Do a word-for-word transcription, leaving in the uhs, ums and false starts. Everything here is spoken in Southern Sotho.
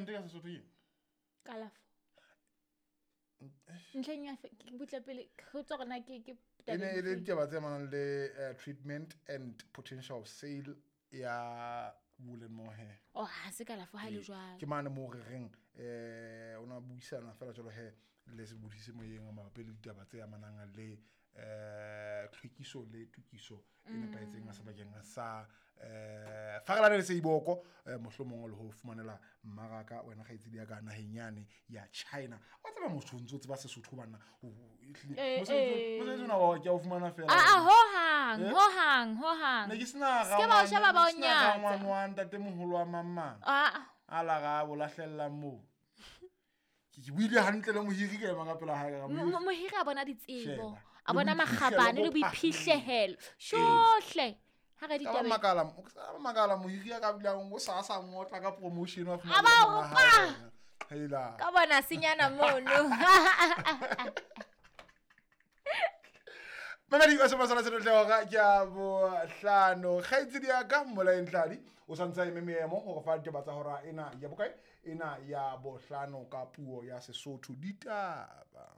Treatment ka Sesotho ke Kalafo. Ntlheng ya butle pele go tswa gona ke ke e ne e le ditaba tse amanang le eh, treatment and potential sale ya wool and mohair. Oh, ha se kalafo ha le jwalo. Ke mane mo re reng eh o na buisana fela jalo he le se bodise moyeng mabapi le ditaba tse amanang le eh tlhwekiso le tokiso e nepahetseng sebakeng sa eh farelane le Seiboko eh, mohlomong le ho fumanela mmaraka wena kgaitsedi ya ka naheng yane ya China. Wa tseba motho o ntso tseba Sesotho bana Eh, mosebetsi eh. mosebetsi ona wa ke a o fumana fela. Ah, ah, ho hang, Eh? ho hang, ho hang. Ne ke sena Se ke ba o sheba ba o nyatsa. rangwane wa ntatemoholo wa mang mang Ah, a la ga bo lahlelang moo. Ke ke buile hantle le mohiri ka ema ka pela hae ka re, mo- mohiri, mo- mohiri a bona ditsebo, Sheba. a Le bona boiphihlelo makgabane bo le boiphihlelo. Shohle. Ha re Ka ba ditabeng. makala, o ka ba makala mohiri a ka bilang o sa sa ngotla ka promotion wa A fumana ba le o monga pa! hae wena. Hela. Ka bona senyana mono. Mamedi wa Sema Sala Senotle hora ke ya bohlano. Kgaitsedi ya ka Mmolaeng Tladi o santse a eme meemo hore fa ditaba tsa hora ena ya bokae ena ya bohlano ka puo ya Sesotho ditaba.